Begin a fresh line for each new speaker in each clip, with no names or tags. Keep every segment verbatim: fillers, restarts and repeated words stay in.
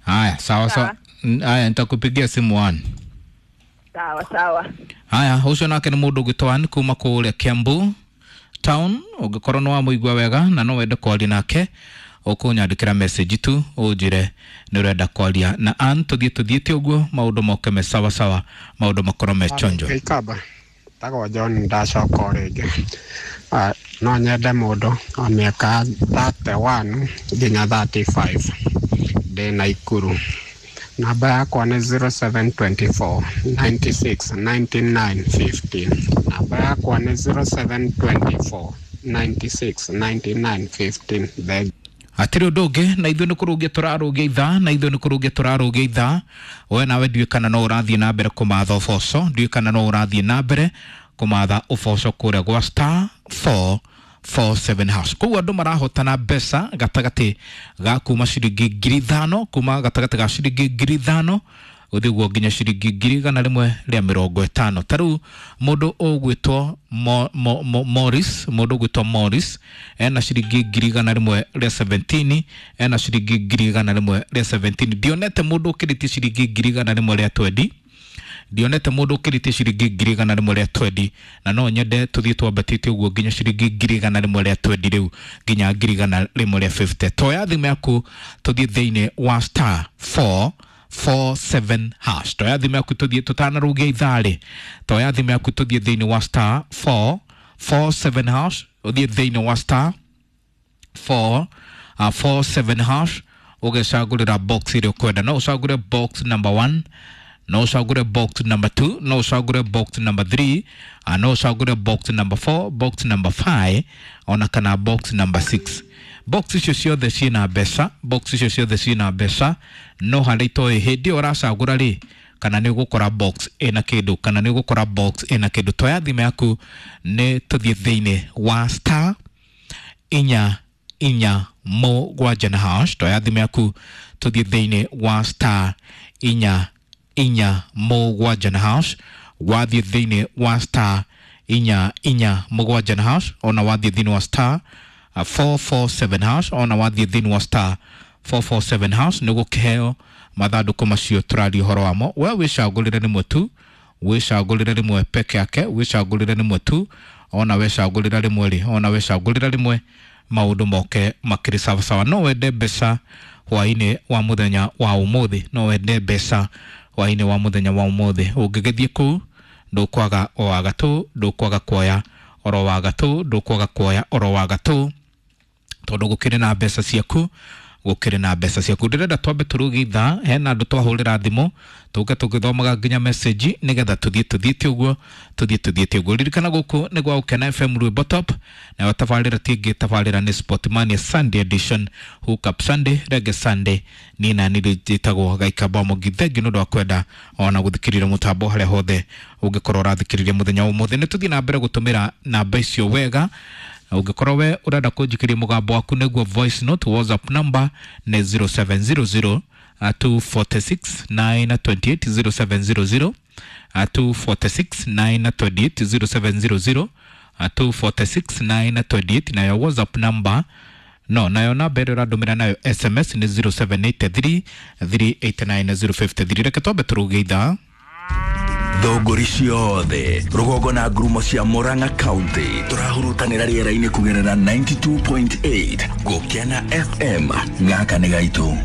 Haya, sawa sawa. Haya, nitakupigia simu one.
Sawa sawa.
Haya, ucio nake nĩ mũndũ ũgwĩtwo Ann kuma kũrĩa Kiambu town. Ũngĩkorwo nĩ wamũigua wega na no wende kwaria nake, ũkũnyandĩkĩra message tu ũnjĩre nĩ ũrenda kwaria na Ann. Tũthiĩ tũthiĩte ũguo maũndũ moke me sawa sawa, maũndũ makorwo me chonjo.
Gĩikamba tagwo John, ndacoka o rĩngĩ. Ah, no nyende mũndũ wa mĩaka thirty-one nginya thirty-five, ndĩ Naikuru. Namba yakwa nĩ zero seven twenty-four ninety-six ninety-nine fifteen. Namba yakwa nĩ zero seven twenty-four ninety-six ninety-nine fifteen. Thengiũ.
Hatirĩ ũndũ ũngĩ, na ithuĩ nĩ kũrũngia tũrarũngia ithaa, na ithuĩ nĩ kũrũngia tũrarũngia ithaa. We nawe ndiũĩ kana no ũrathiĩ na mbere kũmatha ũboco, ndiũĩ kana no ũrathiĩ na mbere kũmatha ũboco kũrĩa gwa star four four seven hash. Koguo andũ marahotana mbeca gatagatĩ ga kuma ciringi ngiri ithano, kuma gatagatĩ ga ciringi ngiri ithano gũthiĩ ũguo nginya ciringi ngiri igana rĩmwe rĩa mĩrongo ĩtano. Ta rĩu mũndũ ũgwĩtwo Mo-, Mo-, Mo-, Morris, mũndũ ũgwĩtwo Morris ena ciringi ngiri igana rĩmwe rĩa seventeen, ena ciringi ngiri igana rĩmwe rĩa seventeen. Ndionete mũndũ ũkĩrĩtie ciringi ngiri igana rĩmwe rĩa twenty, ndionete mũndũ ũkĩrĩtie ciringi ngiri igana rĩmwe rĩa twenty, na no nyende tũthiĩ twambatĩte ũguo nginya ciringi ngiri igana rĩmwe rĩa twenty rĩu nginya ngiri igana rĩmwe rĩa fifty. Toya thimũ yaku tũthiĩ thĩinĩ wa star four four seven hash. Toya thimũ yaku tũthiĩ tũtanarũgia ithaa rĩ, toya thimũ yaku tũthiĩ thĩinĩ wa star four four seven hash, ũthiĩ thĩinĩ wa star four, uh, four seven hash, ũgecagũrĩra box ĩrĩa ũkwenda. No ũcagũre box number one, no ũcagũre box number two, no ũcagũre box number three, uh, no ũcagũre box number four, box number five, ona kana box number six. Box icio ciothe ciĩna mbeca, box icio ciothe ciĩna mbeca, no harĩa itoĩ hĩndĩ ĩyo ũracagũra rĩ, kana nĩ ũgũkora box ĩna kĩndũ, kana nĩ ũgũkora box ĩna kĩndũ. Toya thimũ yaku nĩ tũthiĩ thĩinĩ wa star inya inya mũgwanja na hash. Toya thimũ yaku tũthiĩ thĩinĩ wa star inya inya mũgwanja na hash. Wathiĩ thĩinĩ wa star inya inya mũgwanja na hash, ona wathiĩ thĩinĩ wa star four four seven hash, ona wathiĩ thĩinĩ wa star four four seven hash, nĩ gũkĩheo mathandũkũ macio tũraria ũhoro wamo. We wĩcagũrĩre rĩmwe tu, wĩcagũrĩre rĩmwe peke yake, wĩcagũrĩre rĩmwe tu, ona wecagũrĩra rĩmwe rĩ, ona wecagũrĩra rĩmwe maũndũ moke makĩrĩ sawa sawa. No wende mbeca hwainĩ wa mũthenya wa ũmũthĩ, no wende mbeca hwainĩ wa mũthenya wa ũmũthĩ. Ũngĩgĩthiĩ kũu ndũkwaga o wa gatũ, ndũkwaga kuoya oro wa gatũ, ndũkwaga kuoya oro wa gatũ, tondũ gũkĩrĩ na mbeca ciaku, gũkĩrĩ na mbeca ciaku. Ndĩrenda twambe tũrũgie ithaa, hena andũ twahũrĩra thimũ tũke tũgĩthomaga nginya message nĩgetha tũthiĩ tũthiĩte ũguo, tũthiĩ tũthiĩte ũguo. Ririkana gũkũ nĩ gwa Gũkena F M Rwĩmbo Top, nayo tabarĩra ti ĩngĩ, tabarĩra nĩ Sportmania Sunday Edition, Hook Up Sunday, Reggae Sunday. Niĩ na niĩ njĩtagwo Gaikamba Mũngi. Thengiũ nĩ ũndũ wa kwenda ona gũthikĩrĩria mũtambo harĩa hothe ũngĩkorwo ũrathikĩrĩria mũthenya wa ũmũthĩ. Nĩ tũthiĩ na mbere gũtũmĩra namba icio wega. Ũngĩkorwo we ũrenda kũnjikĩria mũgambo waku nĩguo voice note, WhatsApp number nĩ zero seven zero zero, uh, two forty-six nine twenty-eight, zero seven zero zero, uh, two forty-six nine twenty-eight, zero seven zero zero, uh, two forty-six nine twenty-eight. Nayo WhatsApp number no, nayo namba ĩrĩa ũrandũmĩra nayo S M S nĩ zero seven eight three, three eight nine zero five three. Reke twambe tũrũgie ithaa.
Thũngũri ciothe rũgongo na ngurumo cia Murang'a County tũrahurutanĩra rĩera-inĩ kũgerera ninety-two point eight Gũkena F M. Gaka nĩ gaitũ.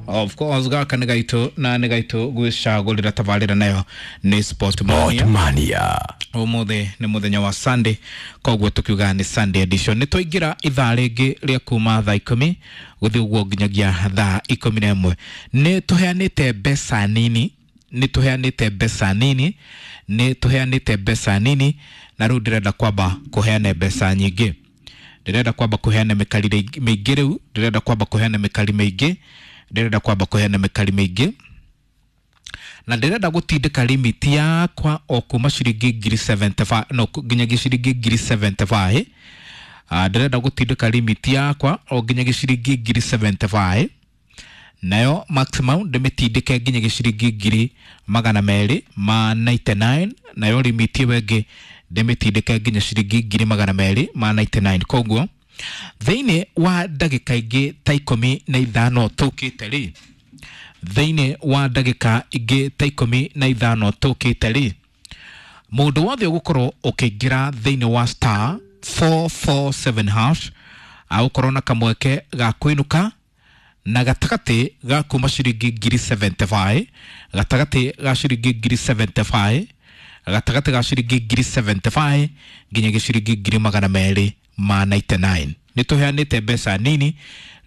Of course, gaka nĩ gaitũ na nĩ gaitũ gwĩcagũrĩra tabarĩra nayo nĩ Sport Mania.
Sport Mania.
Ũmũthĩ nĩ mũthenya wa Sunday, koguo tũkiuga nĩ Sunday edition. Nĩ twaingĩra ithaa rĩngĩ rĩa kuma thaa ikũmi gũthiĩ ũguo nginyagia thaa ikũmi na ĩmwe. Nĩ tũheanĩte mbeca nini, nĩ tũheanĩte mbeca nini, nĩ tũheanĩte mbeca nini, na rĩu ndĩrenda kwamba kũheana mbeca nyingĩ. Ndĩrenda kwamba kũheana mĩkari mĩingĩ rĩu, ndĩrenda kwamba kũheana mĩkari mĩingĩ, ndĩrenda kwamba kũheana mĩkari mĩingĩ. Na ndĩrenda gũtindĩka limit yakwa o kuma ciringi ngiri seventy-five, no, nginyagia ciringi ngiri seventy-five. Ah, ndĩrenda gũtindĩka limit yakwa o nginyagia ciringi ngiri seventy-five. Nayo maximum ndĩmĩtindĩke nginyagia ciringi ngiri magana merĩ ma ninety-nine. Nayo limit ĩyo ĩngĩ ndĩmĩtindĩke nginya ciringi ngiri magana merĩ ma ninety-nine. Koguo thĩinĩ wa ndagĩka ingĩ ta ikũmi na ithano tũkĩte rĩ, Thĩinĩ wa ndagĩka ingĩ ta ikũmi na ithano tũkĩte rĩ, mũndũ wothe ũgũkorwo ũkĩingĩra thĩinĩ wa star four four seven hash agũkorwo na kamweke ga kũinũka na gatagatĩ ga kuma ciringi ngiri seventy five, gatagatĩ ga ciringi ngiri seventy five, gatagatĩ ga ciringi ngiri seventy five nginyagia ciringi ngiri magana merĩ ma ninety nine. Nĩ tũheanĩte mbeca nini,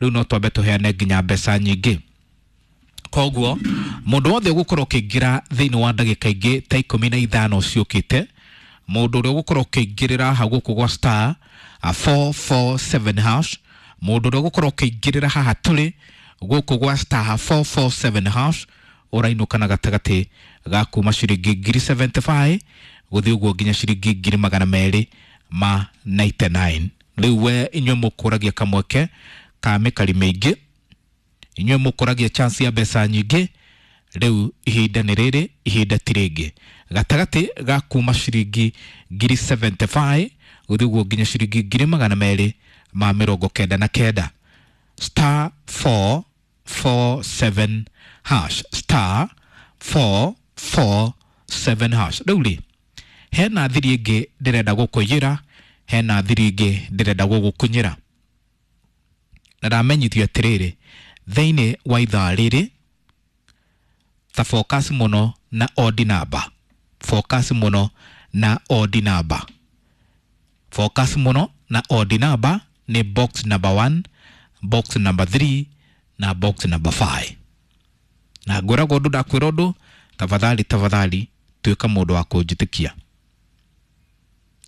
rĩu no twambe tũheane nginya mbeca nyingĩ. Koguo mũndũ wothe ũgũkorwo ũkĩingĩra thĩinĩ wa ndagĩka ingĩ ta ikũmi na ithano ciũkĩte, mũndũ ũrĩa ũgũkorwo ũkĩingĩrĩra hau gũkũ gwa star four four seven hash, mũndũ ũrĩa ũgũkorwo ũkĩingĩrĩra haha tũrĩ gũkũ gwa star four four seven hash ũrainũka na gatagatĩ ga kuma ciringi ngiri seventy five gũthiĩ ũguo nginya ciringi ngiri magana merĩ ma ninety nine. Rĩu we inyuĩ mũkũragia kamweke ka mĩkari mĩingĩ, inyuĩ mũkũragia chance ya mbeca nyingĩ, rĩu ihinda nĩ rĩrĩ, ihinda ti rĩngĩ. Gatagatĩ ga kuma ciringi ngiri seventy five gũthiĩ ũguo nginya ciringi ngiri magana merĩ ma mĩrongo kenda na kenda. Star four four seven hash, star four four seven hash. Rĩu rĩ, hena thiri ĩngĩ ndĩrenda gũkũiyĩra, hena thiri ĩngĩ ndĩrenda gũgũkunyĩra. Na ndamenyithio atĩrĩrĩ, thĩinĩ wa ithaa rĩrĩ ta focus mũno na odd number, focus mũno na odd number, focus mũno na odd number nĩ box number one, box number three na box number five. Na ngwĩragwo ũndũ ndakwĩra ũndũ, tafadhali tafadhali tuĩka mũndũ wa kũnjĩtĩkia.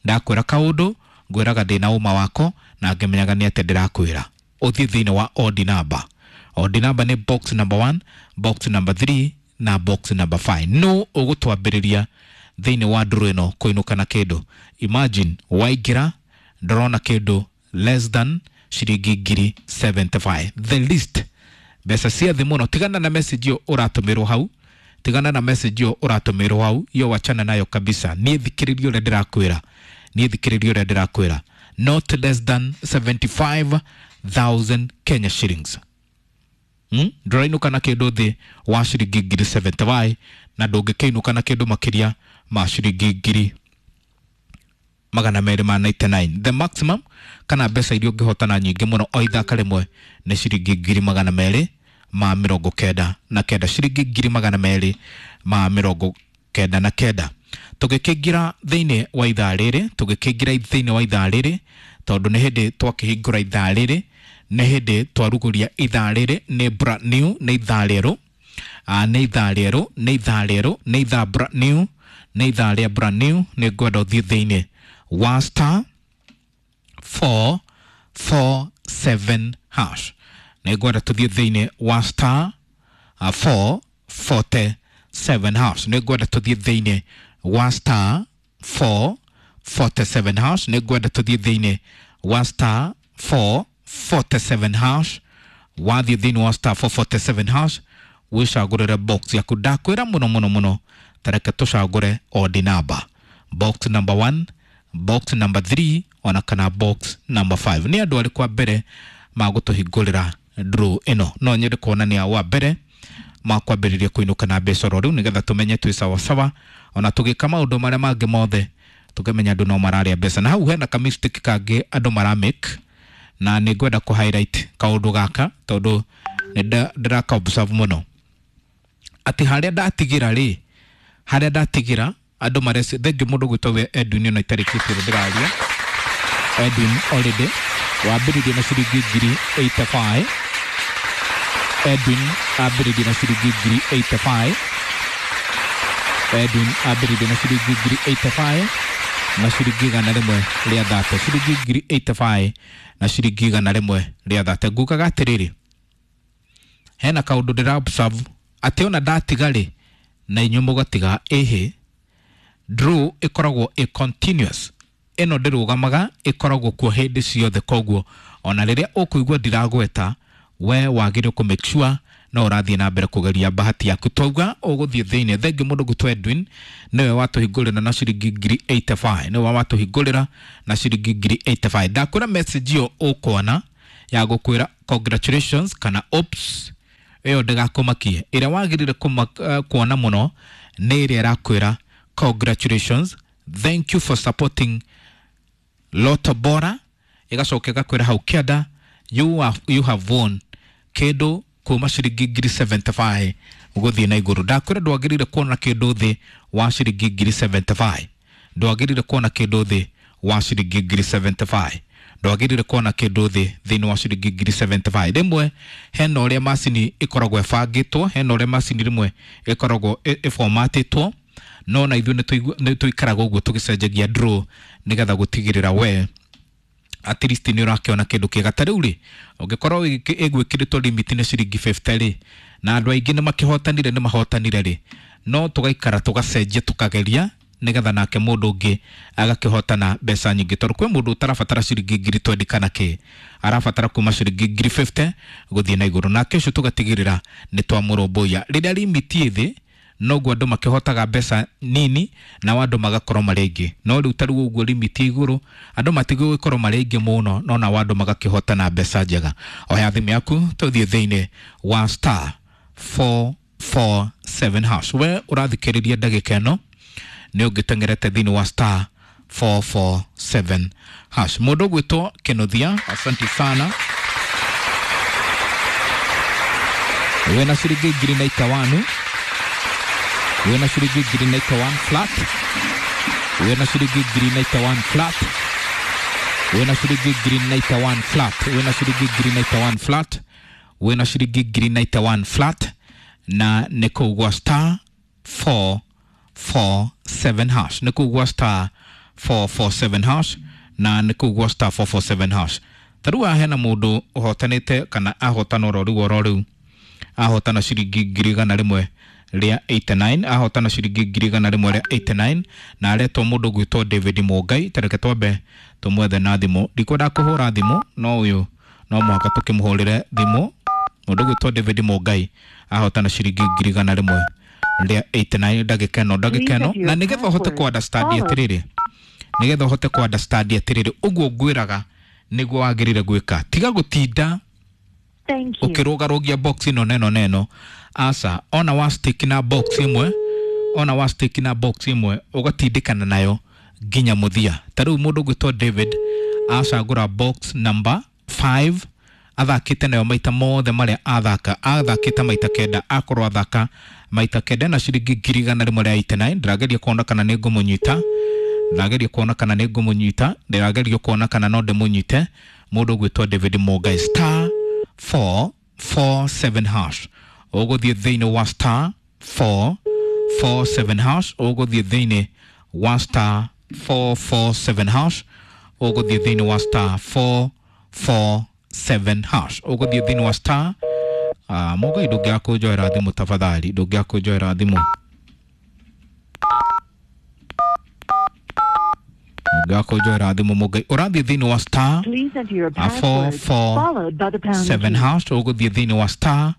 Ndakwĩra kaũndũ ngwĩraga ndĩna ũma wako na ngĩmenyaga nĩ atĩa ndĩrakwĩra. Ũthiĩ thĩinĩ wa odd number. Odd number nĩ box number one, box number three na box number five. No ũgũtwambĩrĩria thĩinĩ wa ndũrũ ĩno kũinũka na kĩndũ. Imagine waingĩra ndũrona kĩndũ less than ciringi ngiri seventy five, the least, mbeca cia thĩ mũno. Tigana na message ĩyo ũratũmĩrwo hau, tigana na message ĩyo ũratũmĩrwo hau, iyo wachana nayo kabisa. Niĩ thikĩrĩria ũrĩa ndĩrakwĩra, niĩ thikĩrĩria ũrĩa ndĩrakwĩra, not less than seventy five thousand Kenya shillings. Hmm? Ndũrainũka na kĩndũ thĩ wa ciringi ngiri seventy five na ndũngĩkĩinũka na kĩndũ makĩria ma ciringi ngiri magana merĩ ma ninety nine. The maximum kana mbeca iria ũngĩhotana nyingĩ mũno o ithaka rĩmwe nĩ ciringi ngiri magana merĩ ma mĩrongo kenda na kenda, ciringi ngiri magana merĩ ma mĩrongo kenda na kenda. Tũgĩkĩingĩra thĩinĩ wa ithaa rĩrĩ, tũgĩkĩingĩra thĩinĩ wa ithaa rĩrĩ, tondũ nĩ hĩndĩ twakĩhingũra ithaa rĩrĩ, nĩ hĩndĩ twarugũria ithaa rĩrĩ, nĩ brand new, nĩ ithaa rĩerũ, nĩ ithaa rĩerũ, nĩ ithaa rĩerũ, nĩ ithaa brand new, nĩ ithaa rĩa brand new. Nĩ ngwenda ũthiĩ thĩinĩ wa star four four seven hash. Nĩ ngwenda tũthiĩ thĩinĩ wa star four forty seven hash. Nĩ ngwenda tũthiĩ thĩinĩ wa star four forty seven hash. Nĩ ngwenda tũthiĩ thĩinĩ wa star four forty seven hash. Wathiĩ thĩinĩ wa star four forty seven hash wĩcagũrĩre box yaku. Ndakwĩra mũno mũno mũno, ta reke tũcagũre odd number, box number one, box number three ona kana box number five. Nĩ andũ arĩkũ a mbere magũtũhingũrĩra draw ĩno? No nyende kuona nĩ a wa mbere makwambĩrĩria kũinũka na mbeca oro rĩu, nĩgetha tũmenye twĩ sawasawa, ona tũgĩka maũndũ marĩa mangĩ mothe tũkĩmenya andũ no mararĩa mbeca. Na hau hena ka mistake kangĩ andũ maramake, na nĩ ngwenda kũ highlight kaũndũ gaka tondũ nĩ ndĩraka observe mũno atĩ harĩa ndatigĩra rĩ, harĩa ndatigĩra andũ mareci. Thengiũ mũndũ gwĩtwo we Edwin, ona itarĩkĩtie ũrĩa ndĩraria. Edwin already wambĩrĩirie na ciringi ngiri eighty five. Edwin ambĩrĩirie na ciringi ngiri eighty five. Edwin ambĩrĩirie na ciringi ngiri eighty five na ciringi igana rĩmwe rĩa thate, ciringi ngiri eighty five na ciringi igana rĩmwe rĩa thate. Ngugaga atĩrĩrĩ, hena kaũndũ ndĩra observe atĩ ona ndatiga rĩ na inyuĩ mũgatiga, ĩhĩ draw ĩkoragwo ĩ continuous, ĩno ndĩrũgamaga, ĩkoragwo kuo hĩndĩ ciothe. Koguo ona rĩrĩa ũkũigua ndiragweta, we wagĩrĩirwo kũ make sure no ũrathiĩ na mbere kũgeria bahati yaku. Twauga ũgũthiĩ thĩinĩ. Thengiũ mũndũ gwĩtwo Edwin nĩwe watũhingũrĩra na ciringi ngiri eighty five, nĩwe watũhingũrĩra na ciringi ngiri eighty five. Ndakwĩra message ĩyo ũkuona ya gũkwĩra congratulations kana oops, Ĩyo ndĩgakũmakie. Ĩrĩa wagĩrĩire uh, kuona mũno nĩ ĩrĩa ĩrakwĩra congratulations, thank you for supporting Lotto Bora, ĩgacoka ĩgakwĩra hau kĩanda you have, you have won kĩndũ kuma ciringi ngiri seventy-five gũthiĩ na igũrũ. Ndakwĩra ndwagĩrĩire kuona kĩndũ thĩ wa ciringi ngiri seventy-five, ndwagĩrĩire kuona kĩndũ thĩ wa ciringi ngiri seventy-five, ndwagĩrĩire kuona kĩndũ thĩ thĩinĩ wa ciringi ngiri seventy-five. Rĩmwe hena ũrĩa macini ĩkoragwo ĩbangĩtwo, hena ũrĩa macini rĩmwe ĩkoragwo ĩformatĩtwo, no na ithuĩ nĩ tũikaraga ũguo tũgĩcenjagia draw nĩgetha gũtigĩrĩra we at least nĩ ũrakĩona kĩndũ kĩega. Ta rĩu rĩ, ũngĩkorwo ĩgwĩkĩrĩtwo limit nĩ ciringi fifty rĩ, na andũ aingĩ nĩ makĩhotanire nĩ mahotanire rĩ, no tũgaikara tũgacenjia tũkageria nĩgetha nake mũndũ ũngĩ agakĩhotana mbeca nyingĩ, tondũ kwĩ mũndũ ũtarabatara ciringi ngiri twenty kana kĩ, arabatara kuma ciringi ngiri fifty gũthiĩ na igũrũ, nake ũcio tũgatigĩrĩra nĩ twamũrũmbũiya. Rĩrĩa limit ĩ thĩ noguo andũ makĩhotaga mbeca nini nao andũ magakorwo marĩ aingĩ, no rĩu ta rĩu ũguo limit igũrũ andũ matigũgĩkorwo marĩ aingĩ mũno, no nao andũ magakĩhotana mbeca njega. Oya thimũ yaku tũthiĩ thĩinĩ wa star four four seven hash. We ũrathikĩrĩria ndagĩka ĩno nĩ ũngĩteng'erete thĩinĩ wa star four four seven hash. Mũndũ ũgwĩtwo Kenothia, asante sana, wĩna ciringi ngiri na itawanu, wĩna ciringi ngiri na itawan flat, wĩna ciringi ngiri na itawan flat, wĩna ciringi ngiri na itawan flat, wĩna ciringi ngiri na itawan flat, wĩna ciringi ngiri na itawan flat, na nĩ kũu gwa star four four seven hash, nĩ kũu gwa star four four seven hash, na nĩ kũu gwa star four four seven hash. Ta rĩu haha hena mũndũ ũhotanĩte kana ahotana oro rĩu oro rĩu, ahotana ciringi ngiri igana rĩmwe rĩa eighty-nine, ahotana ciringi ngiri igana rĩmwe rĩa eighty-nine, na aretwo mũndũ ũgwĩtwo David Mũngai. Ta reke twambe tũmwethe na thimũ, ndikwenda kũhũra thimũ no ũyũ no mũhaka tũkĩmũhũrĩre thimũ. Mũndũ ũgwĩtwo David Mũngai ahotana ciringi ngiri igana rĩmwe rĩa eighty-nine ndagĩka ĩno ndagĩka ĩno, na nĩgetha ũhote kũ understand atĩrĩrĩ, nĩgetha ũhote kũ understand atĩrĩrĩ ũguo ngwĩraga nĩguo wagĩrĩire gwĩka, tiga gũtinda ũkĩrũgarũgia box ĩno neno neno. Aca, ona wa stick na box ĩmwe, ona wa stick na box ĩmwe ũgatindĩkana nayo nginya mũthia. Ta rĩu mũndũ ũgwĩtwo David acagũra box number five, athakĩte nayo maita mothe marĩa athaka, athakĩte maita kenda, akorwo athaka maita kenda na ciringi ngiri igana rĩmwe rĩa eighty-nine. Ndĩrageria kuona kana nĩ ngũmũnyita, ndĩrageria kuona kana nĩ ngũmũnyita, ndĩrageria kuona kana no ndĩmũnyite. Mũndũ ũgwĩtwo David Mũngai, star four four seven hash, ũgũthiĩ thĩinĩ wa star four four seven hash, ũgũthiĩ thĩinĩ wa star four four seven hash, ũgũthiĩ thĩinĩ wa star four four seven hash, ũgũthiĩ thĩinĩ wa star. Ah, Mũngai ndũngĩaga kũnjoera thimũ tafadhali, ndũngĩaga kũnjoera thimũ, ndũngĩaga kũnjoera thimũ Mũngai. Ũrathiĩ thĩinĩ wa star four four seven hash, ũgũthiĩ thĩinĩ wa star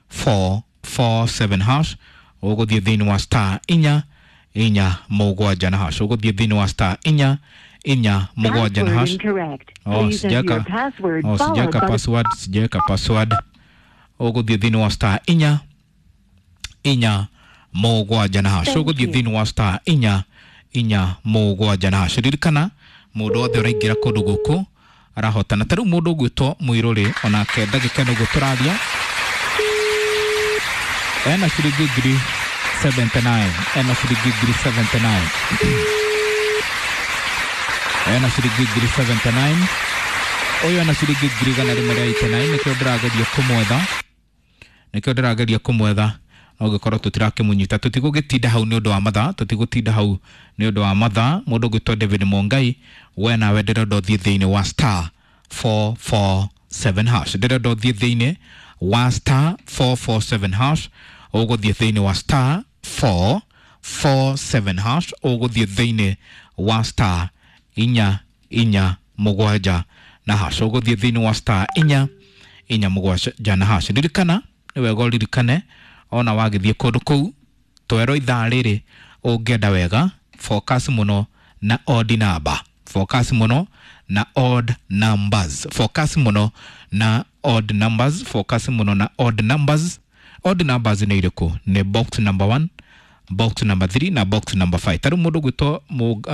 four four seven hash, ũgũthiĩ thĩinĩ wa star inya inya mũgwanja na hash, ũgũthiĩ thĩinĩ wa star inya inya mũgwanja na hash. Oh, sijaweka, oh, sijaweka password, sijaweka password. Ũgũthiĩ thĩinĩ wa star inya inya mũgwanja na hash, ũgũthiĩ thĩinĩ wa star inya inya mũgwanja na hash. Ririkana mũndũ wothe ũraingĩra kũndũ gũkũ arahotana. Ta rĩu mũndũ ũgwĩtwo Mũirũrĩ onake ndagĩka ĩno ũguo tũraria ena ciringi ngiri seventy-nine, ena ciringi ngiri seventy-nine, ena ciringi ngiri seventy-nine, ũyũ ena ciringi ngiri igana rĩmwe rĩa eighty-nine. Nĩkĩo ndĩrageria kũmwetha, nĩkĩo ndĩrageria kũmwetha, no ũngĩkorwo tũtirakĩmũnyita tũtigũgĩtinda hau nĩ ũndũ wa mathaa, tũtigũtinda hau nĩ ũndũ wa mathaa. Mũndũ ũgwĩtwo David Mũngai, we nawe ndĩrenda ũthiĩ thĩinĩ wa star four four seven hash, ndĩrenda ũthiĩ thĩinĩ wa star four four seven hash, ũgũthiĩ thĩinĩ wa star four four seven hash, ũgũthiĩ thĩinĩ wa star inya inya mũgwanja na hash, ũgũthiĩ thĩinĩ wa star inya inya mũgwanja na hash. Ririkana nĩ wega ũririkane ona wagĩthiĩ kũndũ kũu twerwo ithaa rĩrĩ ũngĩenda wega focus mũno na odd number, focus mũno na odd numbers, focus mũno na odd numbers, focus mũno na odd numbers, Odd numbers nĩ irĩkũ? Nĩ box number one, box number three na box number five. Tarĩu mũndũ gwĩtwo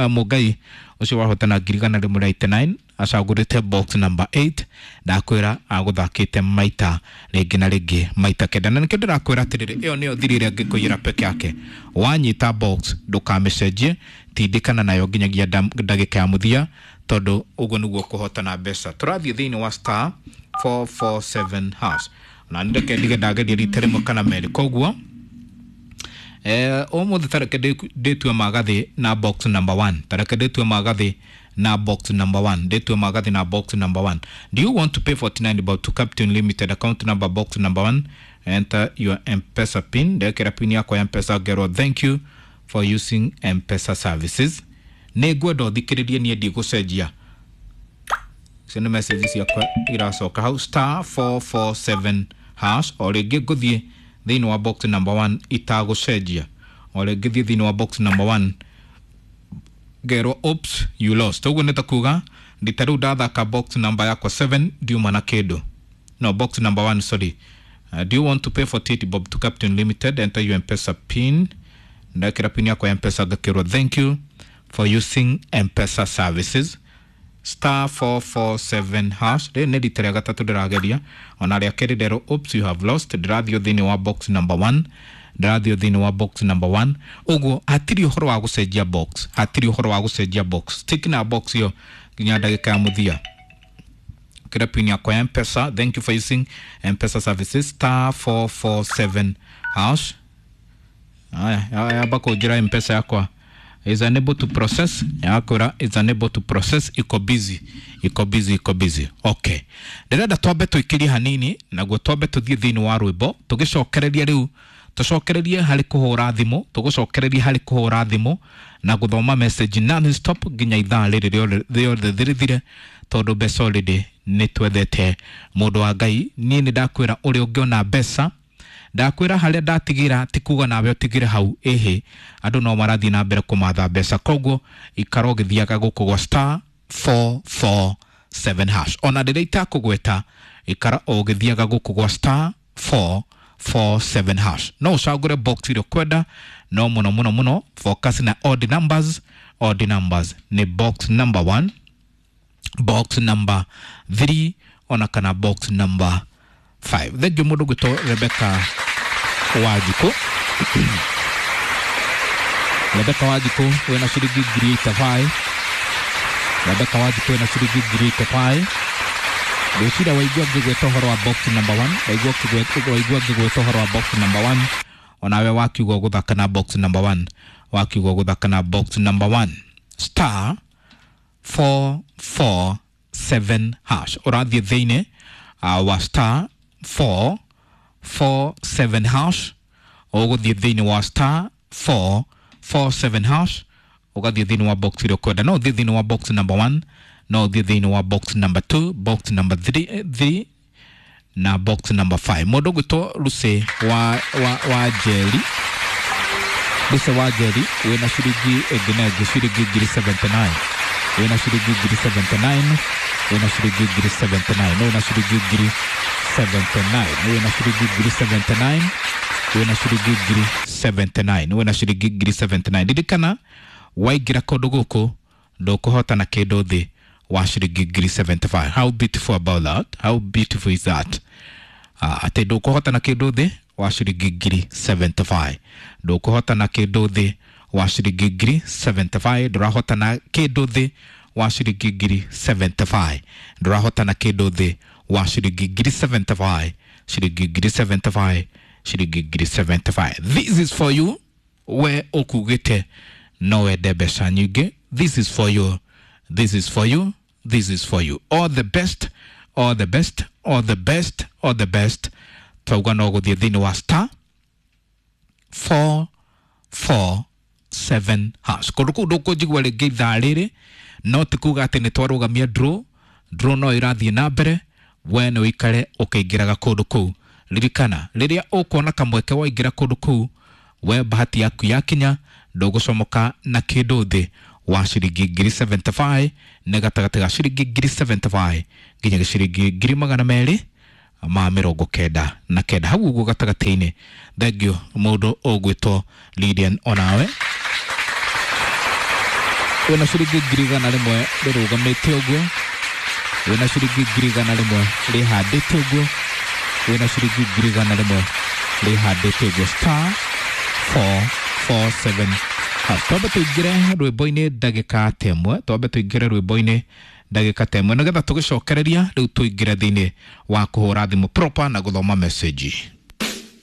Mũngai ũcio wahotana ngiri igana rĩmwe rĩa eighty-nine acagũrĩte box number eight, ndakwĩra agũthakĩte maita rĩngĩ na rĩngĩ maita kenda, na nĩkĩo ndĩrakwĩra atĩrĩrĩ, ĩyo nĩyo thiri ĩrĩa ngĩkũiyĩra peke yake. Wanyita box ndũkamĩcenjie, tindĩkana nayo nginyagia ndagĩka ya mũthia, tondũ ũguo nĩguo kũhotana mbeca. Tũrathiĩ thĩinĩ wa star four four seven hash, na nĩ reke ndige ndageria rita rĩmwe kana merĩ. Koguo eh ũmũthĩ tareke ndĩtue magathĩ na box number one, tareke ndĩtue magathĩ na box number one, ndĩtue magathĩ na box number one. Do you want to pay forty-nine about to Captain Limited account number box number one? Enter your M-Pesa pin. Ndekera pin yakwa ya M-Pesa ngerwo thank you for using M-Pesa services. Nĩ ngwenda ũthikĩrĩrie, niĩ ndigũcenjia. Icio nĩ message ciakwa iracoka hau star four four seven hash. O rĩngĩ ngũthiĩ thĩinĩ wa box number one itagũcenjia, o rĩngĩ thiĩ thĩinĩ wa box number one ngerwo oops you lost. Ũguo nĩ ta kuga ndita rĩu ndathaka box number yakwa seven ndiuma na kĩndũ, no box number one, sorry. Uh, do you want to pay forty-eight bob to Captain Limited? Enter your M-Pesa pin. Ndekĩra pin yakwa ya M-Pesa ngakĩrwo thank you for using M-Pesa services. Star four four seven hash. Rĩrĩ nĩ rita rĩa gatatũ ndĩrageria, ona rĩa kerĩ nderwo oops you have lost. Ndĩrathiĩ thĩinĩ wa box number one, ndĩrathiĩ thĩinĩ wa box number one. Ũguo hatirĩ ũhoro wa gũcenjia box, hatirĩ ũhoro wa gũcenjia box, stick na box ĩyo nginya ndagĩka ya mũthia. Kĩra pin yakwa ya M-Pesa, thank you for using M-Pesa services, star four four seven hash. Aya, yamba kũnjĩra M-Pesa yakwa is unable to process, yakora is unable to process, iko busy, iko busy, iko busy. Okay, ndĩrenda twambe tũikĩrie hanini, naguo twambe tũthiĩ thĩinĩ wa rwĩmbo, tũgĩcokereria rĩu, tũcokererie harĩ kũhũra thimũ, tũgũcokereria harĩ kũhũra thimũ na gũthoma message non stop nginya ithaa rĩrĩ rĩothe rĩthire, tondũ mbeca already nĩ twethete. Mũndũ wa Ngai, niĩ nĩ ndakwĩra ũrĩa ũngĩona mbeca, ndakwĩra harĩa ndatigĩra ti kuga nawe ũtigĩre hau, ĩhĩ andũ no marathiĩ na mbere kũmatha mbeca, koguo ikara ũgĩthiaga gũkũ gwa star four four seven hash. Ona rĩrĩa itakũgweta, ikara ũgĩthiaga gũkũ gwa star four four seven hash. No ũcagũre box ĩrĩa ũkwenda, no mũno mũno mũno focus na odd numbers. Odd numbers nĩ box number one, box number three, ona kana box number five. Thengiũ mũndũ gwĩtwo Rebecca Wanjikũ. Rebecca Wanjikũ wĩna ciringi ngiri eighty-five. Rebecca Wanjikũ wĩna ciringi ngiri eighty-five. Ngwĩciria waigua ngĩgweta ũhoro wa box number one, waigua waigua ngĩgweta ũhoro wa box number one, onawe wakiuga ũgũthaka na box number one, wakiuga ũgũthaka na box number one, star four four seven hash. Ũrathiĩ thĩinĩ uh, wa star four four seven hash, ũgũthiĩ thĩinĩ wa star four four seven hash, ũgathiĩ thĩinĩ wa box ĩrĩa ũkwenda. No ũthiĩ thĩinĩ wa box number one, no ũthiĩ thĩinĩ wa box number two, box number three, three na box number five. Mũndũ ũgwĩtwo Lucy wa, wa, wa Njeri, Lucy wa Njeri wĩna ciringi ĩngĩ na ĩngĩ ciringi ngiri seventy-nine, wĩna ciringi ngiri seventy-nine, wĩna ciringi ngiri seventy-nine, wĩna ciringi ngiri seventy-nine, wĩna ciringi ngiri seventy-nine, wĩna ciringi ngiri seventy-nine, wĩna ciringi ngiri seventy-nine. Ririkana waingĩra kũndũ gũkũ ndũkũhotana kĩndũ thĩ wa ciringi ngiri seventy-five. How beautiful about that? How beautiful is that? Uh, atĩ ndũkũhotana kĩndũ thĩ wa ciringi ngiri seventy-five, ndũkũhotana kĩndũ thĩ wa ciringi ngiri seventy-five, ndũrahotana kĩndũ thĩ wa ciringi ngiri seventy-five, ndũrahotana kĩndũ thĩ wa ciringi ngiri seventy-five, ciringi ngiri seventy-five, ciringi ngiri seventy-five. This is for you we ũkugĩte no wende mbeca nyingĩ. This is for you, this is for you, this is for you. All the best, all the best, all the best, all the best. Twauga no gũthiĩ thĩinĩ wa star four four seven hash. Kũndũ kũu ndũkũnjigua rĩngĩ ithaa rĩrĩ, no ti kuga atĩ nĩ twarũgamia draw, draw no ĩrathiĩ na mbere, we nĩ ũikare ũkĩingĩraga kũndũ kũu. Ririkana rĩrĩa ũkuona kamweke waingĩra kũndũ kũu, we bahati yaku yakinya ndũgũcomoka na kĩndũ thĩ wa ciringi ngiri seventy-five, nĩ gatagatĩ ga ciringi ngiri seventy-five nginya ciringi ngiri magana merĩ ma mĩrongo kenda na kenda hau ũguo gatagatĩ-inĩ. Thank you mũndũ ũgwĩtwo Lydian, onawe wĩna ciringi ngiri igana rĩmwe rĩrũgamĩte ũguo, wĩna ciringi ngiri igana rĩmwe rĩhandĩte ũguo, wĩna ciringi ngiri igana rĩmwe rĩhandĩte ũguo, star four four seven hash. Twambe tũingĩre rwĩmbo-inĩ ndagĩka ta ĩmwe, twambe tũingĩre rwĩmbo-inĩ ndagĩka ta ĩmwe nĩgetha tũgĩcokereria rĩu tũingĩre thĩinĩ wa kũhũra thimũ proper na gũthoma message.